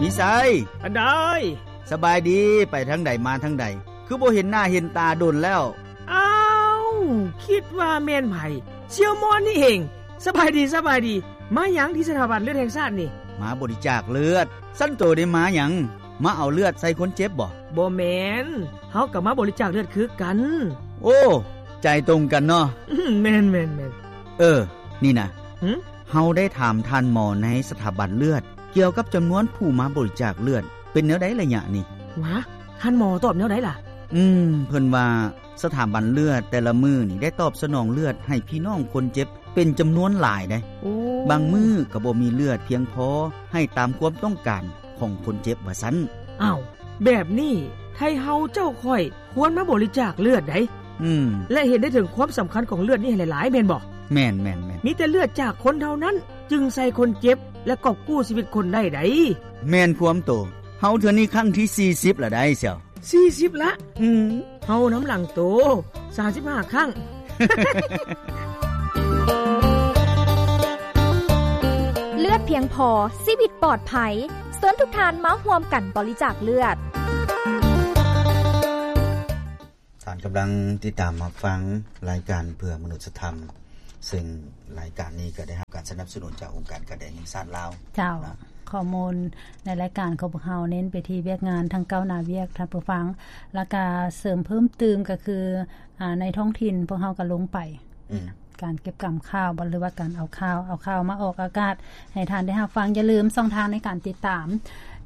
ມີໄຊ ອັນໃດ? ສະບາຍດີ ໄປທາງໃດມາທາງໃດ ຄືບໍ່ເຫັນໜ້າເຫັນຕາດົນແລ້ວ? ອ້າວ ຄິດວ່າແມ່ນໃຜ? ສ່ຽວມອນນີ້ເອງ. ສະບາຍດີ ສະບາຍດີ. ມາຫຍັງທີ່ສະຖາບັນເລືອດແຫ່ງຊາດນີ້? ມາບໍລິຈາກເລືອດ. ຊັ້ນໂຕໄດ້ມາຫຍັງ? ມາເອົາເລືອດໃສ່ຄົນເຈັບບໍ? ບໍ່ແມ່ນ, ເຮົາກໍມາບໍລິຈາກເລືອດຄືກັນ. ໂອ້ ໃຈຕົງກັນເນາະ. ແມ່ນໆໆ. ເອີ ນີ້ນະ ຫຶ? ເຮົາໄດ້ຖາມທ່ານໝໍໃນສະຖາບັນເລືອດ ກ່ຽວກັບຈຳນວນຜູ້ມາບໍລິຈາກເລືອດ ເປັນແນວໃດໄລຍະນີ້? ຫວາ ທ່ານໝໍຕອບແນວໃດລະ? ອືມ ເພິ່ນວ່າສະຖາບັນເລືອດແຕ່ລະມື້ນີ້ ໄດ້ຕອບສະໜອງເລືອດໃຫ້ພີ່ນ້ອງຄົນເຈັບເປັນຈຳນວນຫຼາຍເດ້. ໂອ້ ບາງມື້ກໍບໍ່ມີເລືອດພຽງພໍໃຫ້ຕາມຄວາມຕ້ອງການຂອງຄົນເຈັບວ່າຊັ້ນ. ອ້າວ ແບບນີ້ ໄທເຮົາເຈົ້າຂ້ອຍຄວນມາບໍລິຈາກເລືອດໃດ໋. ອືມ ແລະ ເຫັນໄດ້ເຖິງຄວາມສຳຄັນຂອງເລືອດນີ້ໃຫ້ຫຼາຍໆ ແມ່ນບໍ່? ແມ່ນໆໆ. ມີແຕ່ເລືອດຈາກຄົນເທົ່ານັ້ນ ຈຶ່ງໃສ່ຄົນເຈັບ ແລະ ກອບກູ້ຊີວິດຄົນໄດ້ໃດ໋. ແມ່ນຄວາມໂຕ. ເຮົາເທື່ອນີ້ຄັ້ງທີສີ່ສິບລະໄດ໋ ສ່ຽວ. ສີ່ສິບລະ? ອືມ ເຮົານຳຫຼັງໂຕ ສາມສິບຫ້າຄັ້ງ. ເລືອດພຽງພໍ ຊີວິດປອດໄພ. ເຊີນທຸກທ່ານມາຮ່ວມກັນບໍລິຈາກເລືອດ. ທ່ານກຳລັງຕິດຕາມຮັບຟັງລາຍການເພື່ອມະນຸດສະທຳ, ເຊິ່ງລາຍການນີ້ກໍໄດ້ຮັບການສະໜັບສະໜູນຈາກອົງການກາແດງແຫ່ງຊາດລາວ. ເຈົ້າ, ນະ, ຂໍ້ມູນໃນລາຍການຂອງພວກເຮົາເນັ້ນໄປທີ່ວຽກງານທັງກ້າວໜ້າວຽກ, ທ່ານຜູ້ຟັງ, ແລ້ວກະເສີມເພີ່ມຕື່ມກໍຄື ອາ ໃນທ້ອງຖິ່ນພວກເຮົາກໍລົງໄປ ອືມ ການເກັບກຳຂ່າວ ຫຼືວ່າການເອົາຂ່າວ, ເອົາຂ່າວມາອອກອາກາດໃຫ້ທ່ານໄດ້ຮັບຟັງ. ຢ່າລືມຊ່ອງທາງໃນການຕິດຕາມ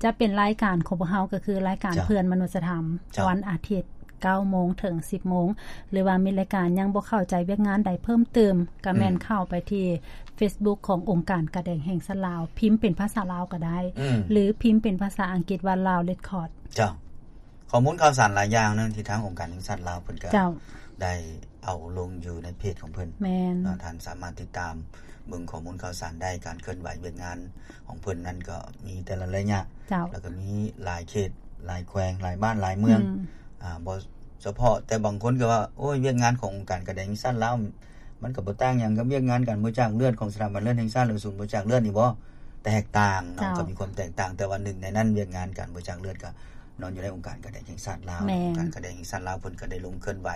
ຈະເປັນລາຍການຂອງພວກເຮົາ ກໍຄືລາຍການ ເຈົ້າ ເພື່ອນມະນຸດສະທຳ ເຈົ້າ ວັນອາທິດ ເກົ້າໂມງເຖິງສິບໂມງ ຫຼືວ່າມີລາຍການຍັງບໍ່ເຂົ້າໃຈວຽກງານໃດເພີ່ມເຕີມ ກໍແມ່ນ ອືມ ເຂົ້າໄປທີ່ເຟສບຸກຂອງອົງການກາແດງແຫ່ງຊາດລາວ, ພິມເປັນພາສາລາວກໍໄດ້ ອືມ ຫຼືພິມເປັນພາສາອັງກິດວ່າ Lao Record. ເຈົ້າ. ຂໍ້ມູນຂ່າວສານຫຼາຍຢ່າງເນາະ ທີ່ທາງອົງການແຫ່ງຊາດລາວເພິ່ນກໍ ເຈົ້າ ໄດ້ເອົາລົງຢູ່ໃນເພຈຂອງເພິ່ນ. ແມ່ນ. ເນາະ, ທ່ານສາມາດຕິດຕາມເບິ່ງຂໍ້ມູນຂ່າວສານໄດ້, ການເຄື່ອນໄຫວວຽກງານຂອງເພິ່ນນັ້ນກໍມີແຕ່ລະໄລຍະ. ເຈົ້າ. ແລ້ວກໍມີຫຼາຍເຂດ, ຫຼາຍແຂວງ, ຫຼາຍບ້ານ, ຫຼາຍເມືອງ. ອືມ. ອາ, ບໍ່ສະເພາະ, ແຕ່ບາງຄົນກໍວ່າ, ໂອ້ຍ, ວຽກງານຂອງອົງການກາແດງແຫ່ງຊາດລາວ ມັນກໍບໍ່ຕ່າງຫຍັງກັບວຽກງານການບໍລິຈາກເລືອດຂອງສະຖາບັນເລືອດແຫ່ງຊາດ ຫຼື ສູນບໍລິຈາກເລືອດນີ້ບໍ? ແຕກຕ່າງເນາະ. ເຈົ້າ. ກໍມີຄວາມແຕກຕ່າງ, ແຕ່ວ່າໜຶ່ງໃນນັ້ນ ວຽກງານການບໍລິຈາກເລືອດກໍ ນອນຢູ່ໃນອົງການກາແດງແຫ່ງຊາດລາວ. ແມ່ນ. ອົງການກາແດງແຫ່ງຊາດລາວເພິ່ນກໍໄດ້ລົງເຄື່ອນໄຫວ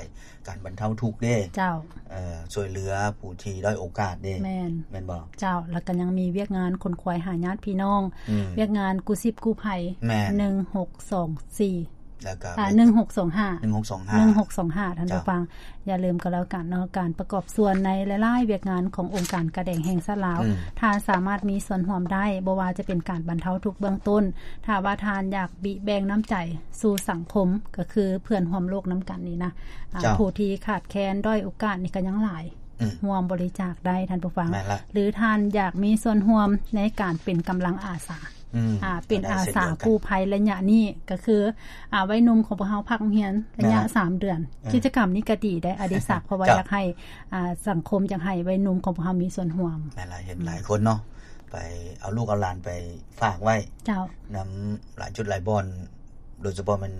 ການບັນເທົາທຸກເດ້. ເຈົ້າ. ເອີ ຊ່ວຍເຫຼືອຜູ້ທີ່ດ້ອຍໂອກາດເດ້. ແມ່ນ. ແມ່ນບໍ່? ເຈົ້າ. ແລ້ວກໍຍັງມີວຽກງານຂົນຂວາຍຫາຍາດພີ່ນ້ອງ, ອືມ ວຽກງານກູ້ຊີບກູ້ໄພ. ແມ່ນ. ໜຶ່ງຫົກສອງສີ່ ແລ້ວກໍ ອາ ໜຶ່ງຫົກສອງຫ້າ ໜຶ່ງຫົກສອງຫ້າ ໜຶ່ງຫົກສອງຫ້າ ທ່ານ ເຈົ້າ ຜູ້ຟັງ. ຢ່າລືມກໍແລ້ວກັນເນາະ, ການປະກອບສ່ວນໃນຫຼາຍໆວຽກງານຂອງອົງການກາແດງແຫ່ງຊາດລາວ, ອືມ ທ່ານສາມາດມີສ່ວນຮ່ວມໄດ້, ບໍ່ວ່າຈະເປັນການບັນເທົາທຸກເບື້ອງຕົ້ນ, ຖ້າວ່າທ່ານຢາກບິແບ່ງນ້ຳໃຈສູ່ສັງຄົມ, ກໍຄືເພື່ອນຮ່ວມໂລກນຳກັນນີ້ນະ, ອາ ເຈົ້າ ຜູ້ທີ່ຂາດແຄນດ້ອຍໂອກາດນີ້ກໍຍັງຫຼາຍ, ອືມ ຮ່ວມບໍລິຈາກໄດ້, ທ່ານຜູ້ຟັງ. ແມ່ນລະ. ຫຼືທ່ານຢາກມີສ່ວນຮ່ວມໃນການເປັນກຳລັງອາສາ, ອືມ ອາ ເປັນອາສາກູ້ໄພໄລຍະນີ້ ກໍຄື ອາ ໄວໜຸ່ມຂອງພວກເຮົາພັກໂຮງຮຽນໄລຍະ ແມ່ນລະ ສາມເດືອນ. ເອີ ກິດຈະກຳນີ້ກໍດີໄດ໋ ອະດິສັກ, ເພາະວ່າ ເຈົ້າ ຢາກໃຫ້ ອາ ສັງຄົມ ຢາກໃຫ້ໄວໜຸ່ມຂອງພວກເຮົາມີສ່ວນຮ່ວມ. ແມ່ນລະ, ເຫັນຫຼາຍຄົນເນາະ ໄປເອົາລູກເອົາຫຼານໄປຝາກໄວ້ ເຈົ້າ ນຳຫຼາຍຈຸດຫຼາຍບ່ອນ, ໂດຍສະເພາະແມ່ນ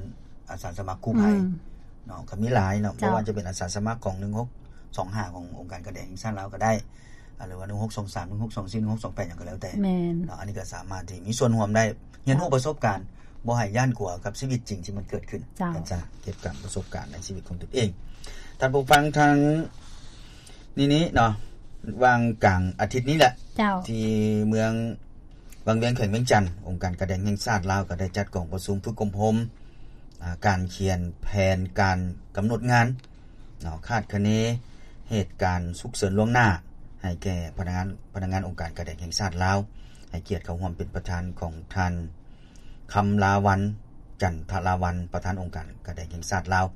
ອາສາສະໝັກກູ້ໄພ ອືມ ເນາະ, ກໍມີຫຼາຍເນາະ, ເຈົ້າ ບໍ່ວ່າຈະເປັນອາສາສະໝັກຂອງ ໜຶ່ງຫົກສອງຫ້າ ຂອງອົງການກາແດງແຫ່ງຊາດລາວກໍໄດ້ ອາ ຫຼືວ່າ ໜຶ່ງຫົກສອງສາມ ໜຶ່ງຫົກສອງສີ່ ໜຶ່ງຫົກສອງແປດ ຫຍັງກໍແລ້ວແຕ່ ແມ່ນ ເນາະ, ອັນນີ້ກໍສາມາດທີ່ມີສ່ວນຮ່ວມໄດ້, ຮຽນຮູ້ປະສົບການ, ບໍ່ໃຫ້ຢ້ານກົວກັບຊີວິດຈິງທີ່ມັນເກີດຂຶ້ນ. ເຈົ້າ. ເກັບກຳປະສົບການໃນຊີວິດຂອງຕົນເອງ. ທ່ານຜູ້ຟັງ, ທາງນີ້ນີ້ເນາະ, ຫວ່າງກາງອາທິດນີ້ແຫຼະ ເຈົ້າ ທີ່ເມືອງວັງວຽງ ແຂວງວຽງຈັນ, ອົງການກາແດງແຫ່ງຊາດລາວ ກໍໄດ້ຈັດກອງປະຊຸມຝຶກອົບຮົມ ອາ ການຂຽນແຜນການກຳນົດງານ ເນາະ, ຄາດຄະເນເຫດການສຸກເສີນລ່ວງໜ້າ ໃຫ້ແກ່ພະນັກງານ, ພະນັກງານອົງການກາແດງແຫ່ງຊາດລາວ, ໃຫ້ກຽດເຂົ້າຮ່ວມເປັນປະທານຂອງທ່ານ ຄຳລາວັນ ຈັນທະລາວັນ ປະທານອົງການກາແດງແຫ່ງຊາດລາວ.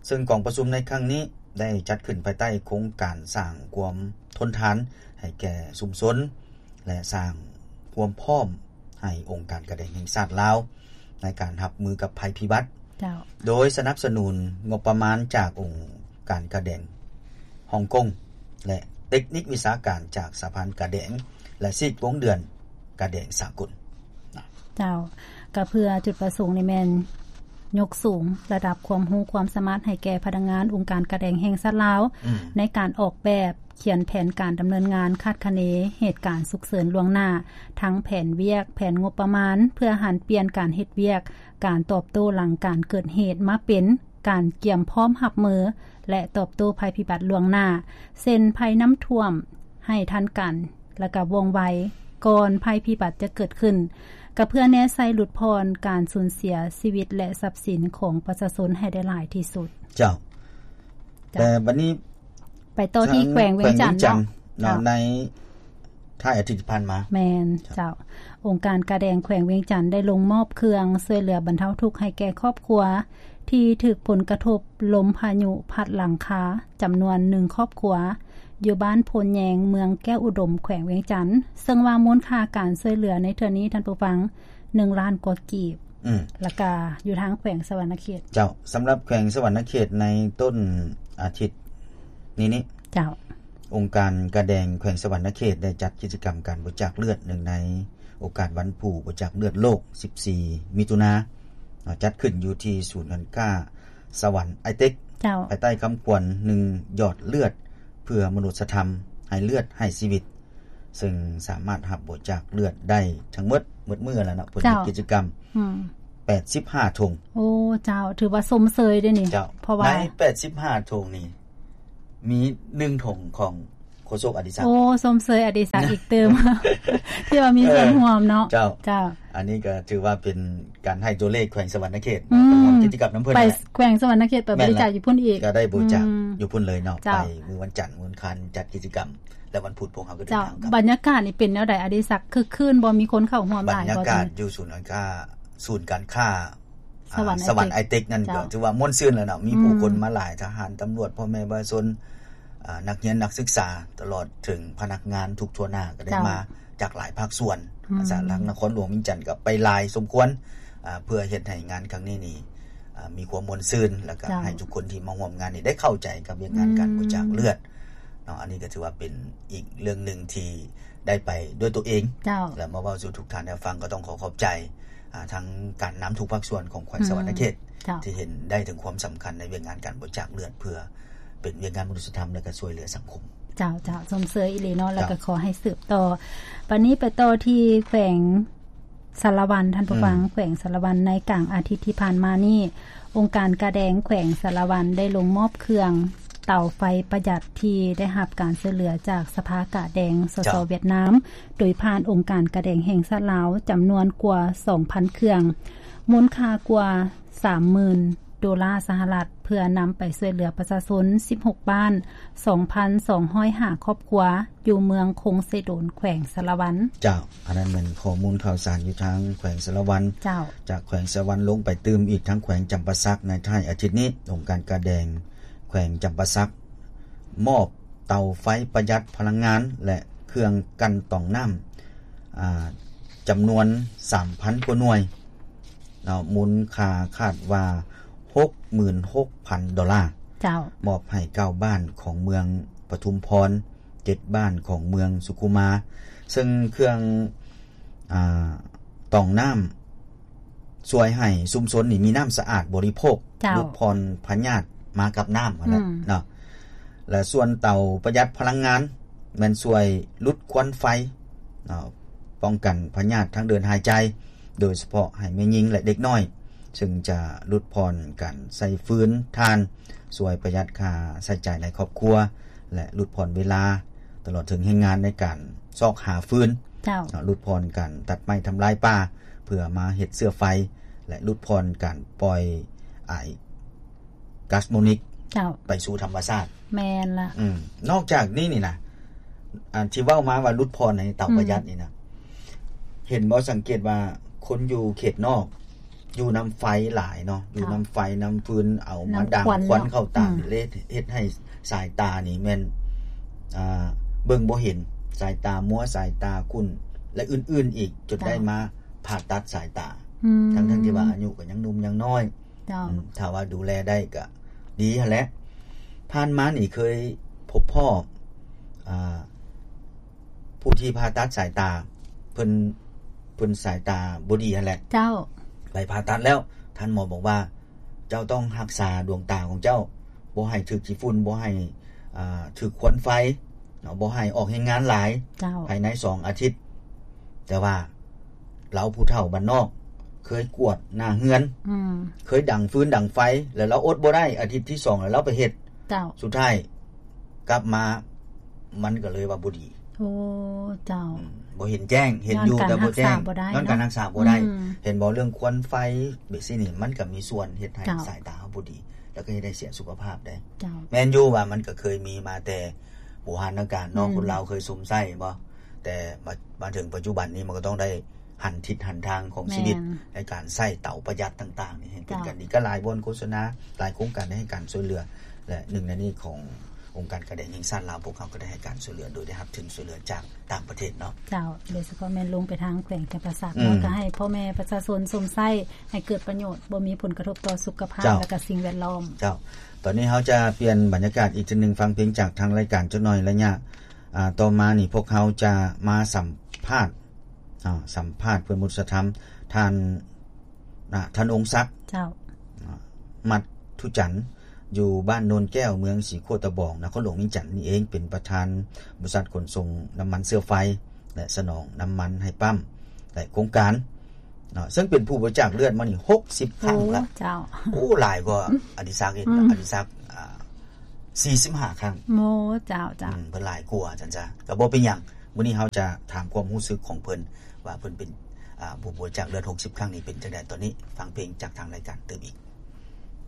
ເຊິ່ງກອງປະຊຸມໃນຄັ້ງນີ້ໄດ້ຈັດຂຶ້ນພາຍໃຕ້ໂຄງການສ້າງຄວາມທົນທານໃຫ້ແກ່ຊຸມຊົນ ແລະ ສ້າງຄວາມພ້ອມໃຫ້ອົງການກາແດງແຫ່ງຊາດລາວ ໃນການຮັບມືກັບໄພພິບັດ. ເຈົ້າ. ໂດຍສະໜັບສະໜູນງົບປະມານຈາກອົງການກາແດງຮ່ອງກົງ ແລະ ເຕັກນິກວິຊາການຈາກສະຫະພັນກາແດງ ແລະ ຊີກວົງເດືອນກາແດງສາກົນ. ເຈົ້າ. ກໍເພື່ອຈຸດປະສົງນີ້ແມ່ນ ຍົກສູງລະດັບຄວາມຮູ້ຄວາມສາມາດໃຫ້ແກ່ພະນັກງານອົງການກາແດງແຫ່ງຊາດລາວ ອືມ ໃນການອອກແບບ ຂຽນແຜນການດຳເນີນງານ, ຄາດຄະເນເຫດການສຸກເສີນລ່ວງໜ້າ, ທັງແຜນວຽກ, ແຜນງົບປະມານ, ເພື່ອຫັນປ່ຽນການເຮັດວຽກ, ການຕອບໂຕ້ຫຼັງການເກີດເຫດ ມາເປັນການກຽມພ້ອມຮັບມື ແລະ ຕອບໂຕ້ໄພພິບັດລ່ວງໜ້າ, ເຊັ່ນ ໄພນ້ຳຖ້ວມ, ໃຫ້ທັນການ ແລະ ກະວ່ອງໄວ ກ່ອນໄພພິບັດຈະເກີດຂຶ້ນ, ກະເພື່ອແນໃສ່ຫຼຸດຜ່ອນການສູນເສຍຊີວິດ ແລະ ຊັບສິນຂອງປະຊາຊົນໃຫ້ໄດ້ຫຼາຍທີ່ສຸດ. ເຈົ້າ. ເຈົ້າ. ແຕ່ບັດນີ້ ໄປຕໍ່ທີ່ແຂວງວຽງຈັນເນາະ. ແຂວງວຽງຈັນເນາະ ເຈົ້າ ໃນທ້າຍອາທິດທີ່ຜ່ານມາ. ແມ່ນ ເຈົ້າ. ອົງການກາແດງແຂວງວຽງຈັນໄດ້ລົງມອບເຄື່ອງຊ່ວຍເຫຼືອບັນເທົາທຸກໃຫ້ແກ່ຄອບຄົວທີ່ຖືກຜົນກະທົບລົມພາຍຸພັດຫຼັງຄາ ຈຳນວນໜຶ່ງຄອບຄົວ ຢູ່ບ້ານໂພນແຍງ ເມືອງແກ້ວອຸດົມ ແຂວງວຽງຈັນ, ເຊິ່ງວ່າມູນຄ່າການຊ່ວຍເຫຼືອໃນເທື່ອນີ້ ທ່ານຜູ້ຟັງ ໜຶ່ງລ້ານກວ່າກີບ ອືມ ແລ້ວກະຢູ່ທາງແຂວງສະຫວັນນະເຂດ. ເຈົ້າ, ສຳລັບແຂວງສະຫວັນນະເຂດໃນຕົ້ນອາທິດນີ້ນີ້ ເຈົ້າ, ອົງການກາແດງແຂວງສະຫວັນນະເຂດໄດ້ຈັດກິດຈະກຳການບໍລິຈາກເລືອດ ເນື່ອງໃນໂອກາດວັນຜູ້ບໍລິຈາກເລືອດໂລກ ສິບສີ່ ມິຖຸນາ ເນາະ, ຈັດຂຶ້ນຢູ່ທີ່ສູນການຄ້າສະຫວັນໄອເຕັກ ເຈົ້າ, ພາຍໃຕ້ຄຳຂວັນ ໜຶ່ງ ຢອດເລືອດເພື່ອມະນຸດສະທຳ ໃຫ້ເລືອດໃຫ້ຊີວິດ ເຊິ່ງສາມາດຮັບບໍລິຈາກເລືອດໄດ້ທັງໝົດ ໝົດມື້ແລ້ວເນາະ ເພິ່ນເຮັດ ເຈົ້າ ກິດຈະກຳ ອືມ ແປດສິບຫ້າຖົງ. ໂອ້ ເຈົ້າ, ຖືວ່າຊົມເຊີຍເດ້ນີ້. ເຈົ້າ, ເພາະວ່າໃນແປດສິບຫ້າຖົງນີ້ ມີໜຶ່ງຖົງຂອງໂຄສົກອະດິສັກ. ໂອ້ ຊົມເຊີຍອະດິສັກອີກຕື່ມ ທີ່ວ່າມີສ່ວນ ເອີ ຮ່ວມເນາະ. ເຈົ້າ, ເຈົ້າ, ອັນນີ້ກໍຖືວ່າເປັນ ການໃຫ້ຕົວເລກແຂວງສະຫວັນນະເຂດ ອືມ ເນາະ ເປັນກິດຈະກຳນຳເພິ່ນ ໄປແຫຼະ ແຂວງສະຫວັນນະເຂດໄປບໍລິຈາກຢູ່ພຸ້ນອີກ ກໍໄດ້ບໍລິຈາກ ອືມ ຢູ່ພຸ້ນເລີຍເນາະ. ເຈົ້າ, ໄປມື້ວັນຈັນ ມື້ອັງຄານຈັດກິດຈະກຳ ແລະ ວັນພຸດພວກເຮົາກໍເດີນທາງກັບ. ເຈົ້າ, ບັນຍາກາດນີ້ເປັນແນວໃດ ອະດິສັກ? ຄຶກຄື້ນບໍ່? ມີຄົນເຂົ້າຮ່ວມຫຼາຍບໍ່? ບັນຍາກາດຢູ່ສູນການຄ້າ ສູນການຄ້າ ສະຫວັນ ອ່າ ໄອເຕັກ ສະຫວັນໄອເຕັກນັ້ນ ເຈົ້າ ກໍຖືວ່າມ່ວນຊື່ນແລ້ວເນາະ, ມີ ເຈົ້າ ຜູ້ຄົນມາຫຼາຍ ທະຫານ, ຕຳຫຼວດ, ພໍ່ແມ່ປະຊາຊົນ, ອ່າ ນັກຮຽນ, ນັກສຶກສາ ຕະຫຼອດເຖິງພະນັກງານທຸກທົ່ວໜ້າ ກໍໄດ້ ເຈົ້າ ມາຈາກຫຼາຍພາກສ່ວນ. ອືມ ຈາກທາງນະຄອນຫຼວງວຽງຈັນກໍໄປຫຼາຍສົມຄວນ ອ່າ ເພື່ອເຮັດໃຫ້ງານຄັ້ງນີ້ນີ້ ອ່າ ມີຄວາມມ່ວນຊື່ນ ແລ້ວກໍ ເຈົ້າ ໃຫ້ທຸກຄົນທີ່ມາຮ່ວມງານນີ້ໄດ້ເຂົ້າໃຈກັບວຽກງານ ອືມ ການບໍລິຈາກເລືອດເນາະ. ອັນນີ້ກໍຖືວ່າເປັນອີກເລື່ອງໜຶ່ງທີ່ ໄດ້ໄປດ້ວຍຕົວເອງ ເຈົ້າ ແລະ ມາເວົ້າສູ່ທຸກທ່ານໄດ້ຟັງ. ກໍຕ້ອງຂໍຂອບໃຈ ອ່າ ທາງການນຳທຸກພາກສ່ວນຂອງແຂວງ ອືມ ສະຫວັນນະເຂດ ເຈົ້າ ທີ່ເຫັນໄດ້ເຖິງຄວາມສຳຄັນໃນວຽກງານການບໍລິຈາກເລືອດ ເພື່ອເປັນວຽກງານມະນຸດສະທຳ ແລະ ກໍຊ່ວຍເຫຼືອສັງຄົມ. ເຈົ້າ, ເຈົ້າ, ຊົມເຊີຍອີ່ຫຼີເນາະ, ເຈົ້າ ແລ້ວກໍຂໍໃຫ້ສືບຕໍ່. ບັດນີ້ໄປຕໍ່ທີ່ແຂວງ ສາລະວັນ ທ່ານຜູ້ຟັງ, ອືມ ແຂວງສາລະວັນ ໃນກາງອາທິດທີ່ຜ່ານມານີ້ ອົງການກາແດງແຂວງສາລະວັນໄດ້ລົງມອບເຄື່ອງເຕົາໄຟປະຢັດ ທີ່ໄດ້ຮັບການຊ່ວຍເຫຼືອຈາກສະພາກາແດງ ສສ ເຈົ້າ ຫວຽດນາມ ໂດຍຜ່ານອົງການກາແດງແຫ່ງຊາດລາວ ຈຳນວນກວ່າສອງພັນເຄື່ອງ ມູນຄ່າກວ່າສາມໝື່ນໂດລາສະຫະລັດ ເພື່ອນຳໄປຊ່ວຍເຫຼືອປະຊາຊົນສິບຫົກບ້ານ ສອງພັນສອງຮ້ອຍຫ້າຄອບຄົວ ຢູ່ເມືອງຄົງເຊໂດນ ແຂວງສາລະວັນ. ເຈົ້າ, ອັນນັ້ນແມ່ນຂໍ້ມູນຂ່າວສານຢູ່ທາງແຂວງສາລະວັນ. ເຈົ້າ, ຈາກແຂວງສາລະວັນລົງໄປຕື່ມອີກທາງແຂວງຈຳປາສັກ ໃນທ້າຍອາທິດນີ້ ອົງການກາແດງແຂວງຈຳປາສັກ ມອບເຕົາໄຟປະຢັດພະລັງງານ ແລະ ເຄື່ອງກັ່ນຕອງນ້ຳ ອ່າ ຈຳນວນສາມພັນກວ່າໜ່ວຍ ເນາະ, ມູນຄ່າຄາດວ່າຫົກໝື່ນຫົກພັນໂດລາ. ເຈົ້າ, ມອບໃຫ້ເກົ້າບ້ານຂອງເມືອງປະທຸມພອນ, ເຈັດບ້ານຂອງເມືອງສຸຂຸມາ, ເຊິ່ງເຄື່ອງ ອ່າ ຕອງນ້ຳ ຊ່ວຍໃຫ້ຊຸມຊົນນີ້ມີນ້ຳສະອາດບໍລິໂພກ, ເຈົ້າ, ຫຼຸດຜ່ອນພະຍາດມາກັບນ້ຳຫັ້ນແຫຼະ ອືມ ເນາະ. ແລະ ສ່ວນເຕົາປະຢັດພະລັງງານ ແມ່ນຊ່ວຍຫຼຸດຄວັນໄຟ ເນາະ, ປ້ອງກັນພະຍາດທາງເດີນຫາຍໃຈ ໂດຍສະເພາະໃຫ້ແມ່ຍິງ ແລະ ເດັກນ້ອຍ, ເຊິ່ງຈະຫຼຸດຜ່ອນການໃຊ້ຟືນຖ່ານ, ຊ່ວຍປະຢັດຄ່າໃຊ້ຈ່າຍໃນຄອບຄົວ ແລະ ຫຼຸດຜ່ອນເວລາ ຕະຫຼອດເຖິງແຮງງານໃນການຊອກຫາຟືນ, ເຈົ້າ, ເນາະ, ຫຼຸດຜ່ອນການຕັດໄມ້ທຳລາຍປ່າ ເພື່ອມາເຮັດເຊື້ອໄຟ ແລະ ຫຼຸດຜ່ອນການປ່ອຍອາຍ ກາສໂມນິກ ເຈົ້າ ໄປສູ່ທຳມະຊາດ. ແມ່ນລະ. ອືມ ນອກຈາກນີ້ນີ້ນະ ອັນທີ່ເວົ້າມາວ່າຫຼຸດຜ່ອນໃນເຕົາ ອືມ ປະຢັດນີ້ນະ ເຫັນບໍ່? ສັງເກດວ່າຄົນຢູ່ເຂດນອກ ຢູ່ນຳໄຟຫຼາຍເນາະ, ເຈົ້າ, ຢູ່ນຳໄຟນຳຟືນ ເອົາມາດັງ ນຳຄວັນ ຄວັນເນາະ ເຂົ້າຕາ ອືມ ເລີຍເຮັດໃຫ້ສາຍຕານີ້ແມ່ນ ອ່າ ເບິ່ງບໍ່ເຫັນ, ສາຍຕາມົວ, ສາຍຕາຂຸ້ນ ແລະ ອື່ນໆອີກ, ຈົນ ເຈົ້າ ໄດ້ມາຜ່າຕັດສາຍຕາ ອືມ ທັງໆທີ່ວ່າອາຍຸກໍຍັງໜຸ່ມຍັງນ້ອຍ. ເຈົ້າ, ອືມ ຖ້າວ່າດູແລໄດ້ກໍດີຫັ້ນແຫຼະ. ຜ່ານມານີ້ເຄີຍພົບພໍ້ ອ່າ ຜູ້ທີ່ຜ່າຕັດສາຍຕາ ເພິ່ນ ເພິ່ນສາຍຕາບໍ່ດີຫັ້ນແຫຼະ. ເຈົ້າ, ໄປຜ່າຕັດແລ້ວ ທ່ານໝໍບອກວ່າ ເຈົ້າຕ້ອງຮັກສາດວງຕາຂອງເຈົ້າ ບໍ່ໃຫ້ຖືກຂີ້ຝຸ່ນ ບໍ່ໃຫ້ ອ່າ ຖືກຄວັນໄຟເນາະ ບໍ່ໃຫ້ອອກແຮງງານຫຼາຍ ເຈົ້າ ພາຍໃນສອງອາທິດ. ແຕ່ວ່າລາວຜູ້ເຖົ້າບ້ານນອກ ເຄີຍກວດໜ້າເຮືອນ ອືມ ເຄີຍດັງຟືນດັງໄຟ ແລ້ວລາວອົດບໍ່ໄດ້ ອາທິດທີສອງແລ້ວລາວໄປເຮັດ ເຈົ້າ ສຸດທ້າຍກັບມາ ມັນກໍເລີຍວ່າບໍ່ດີ. ໂອ້ ເຈົ້າ ອືມ ບໍ່ເຫັນແຈ້ງ ເຫັນຢູ່ແຕ່ບໍ່ແຈ້ງ ຍ້ອນການຮັກສາບໍ່ໄດ້ ຍ້ອນການຮັກສາບໍ່ໄດ້ ອືມ ເຫັນບໍ່? ເລື່ອງຄວັນໄຟແບບຊີ້ນີ້ ມັນກໍມີສ່ວນເຮັດໃຫ້ ເຈົ້າ ສາຍຕາເຮົາບໍ່ດີ ແລ້ວກໍເຮັດໃຫ້ເສຍສຸຂະພາບໄດ້. ເຈົ້າ ແມ່ນຢູ່ວ່າມັນກໍເຄີຍມີມາແຕ່ບູຮານນະການເນາະ ອືມ ຄົນລາວເຄີຍສຸມໃຊ້ບໍ່? ແຕ່ມາ ມາເຖິງປັດຈຸບັນນີ້ ມັນກໍຕ້ອງໄດ້ຫັນທິດຫັນທາງຂອງຊີວິດ ແມ່ນ ໃນການໃຊ້ເຕົາປະຢັດຕ່າງໆນີ້ໃຫ້ເປັນ ເຈົ້າ ກັນດີ. ກໍຫຼາຍບ່ອນໂຄສະນາ ຫຼາຍໂຄງການໄດ້ໃຫ້ການຊ່ວຍເຫຼືອ ແລະ ໜຶ່ງໃນນີ້ຂອງ ອົງການການແດງແຫ່ງຊາດລາວ ພວກເຮົາກໍໄດ້ໃຫ້ການຊ່ວຍເຫຼືອ ໂດຍໄດ້ຮັບທຶນຊ່ວຍເຫຼືອຈາກຕ່າງປະເທດເນາະ. ເຈົ້າ ໂດຍສະເພາະແມ່ນລົງໄປທາງແຂວງຈຳປາສັກ ອືມ ເນາະ ກໍໃຫ້ພໍ່ແມ່ປະຊາຊົນຊົມໃຊ້ໃຫ້ເກີດປະໂຫຍດ ບໍ່ມີຜົນກະທົບຕໍ່ສຸຂະພາບ ເຈົ້າ ແລະ ກໍສິ່ງແວດລ້ອມ. ເຈົ້າ ຕອນນີ້ເຮົາຈະປ່ຽນບັນຍາກາດອີກເທື່ອໜຶ່ງ ຟັງເພງຈາກທາງລາຍການຈັກໜ່ອຍ. ໄລຍະ ອ່າ ຕໍ່ມານີ້ ພວກເຮົາຈະມາສຳພາດ ອ່າ ສຳພາດເພື່ອນມະນຸດສະທຳ ທ່ານ ນະ ທ່ານ ອົງສັກ ເຈົ້າ ນະ ມັດທຸຈັນ ຢູ່ບ້ານໂນນແກ້ວ ເມືອງສີໂຄດຕະບອງ ນະຄອນຫຼວງວຽງຈັນນີ້ເອງ ເປັນປະທານບໍລິສັດຂົນສົ່ງນ້ຳມັນເຊື້ອໄຟ ແລະ ສະໜອງນ້ຳມັນໃຫ້ປ້ຳ ແລະ ໂຄງການເນາະ ເຊິ່ງເປັນຜູ້ບໍລິຈາກເລືອດມານີ້ຫົກສິບຄັ້ງລະ. ໂອ້ ເຈົ້າ ໂອ້ ຫຼາຍກວ່າອະດິສັກອີກ ອືມ ອະດິສັກ ອ່າ ສີ່ສິບຫ້າຄັ້ງ. ໂອ້ ເຈົ້າ ເຈົ້າ ອືມ ເພິ່ນຫຼາຍກວ່າຊັ້ນຊະ ກໍບໍ່ເປັນຫຍັງ. ມື້ນີ້ເຮົາຈະຖາມຄວາມຮູ້ສຶກຂອງເພິ່ນ ວ່າເພິ່ນເປັນ ອ່າ ຜູ້ບໍລິຈາກເລືອດຫົກສິບຄັ້ງນີ້ເປັນຈັ່ງໃດ. ຕອນນີ້ຟັງເພງຈາກທາງລາຍການຕື່ມອີກ.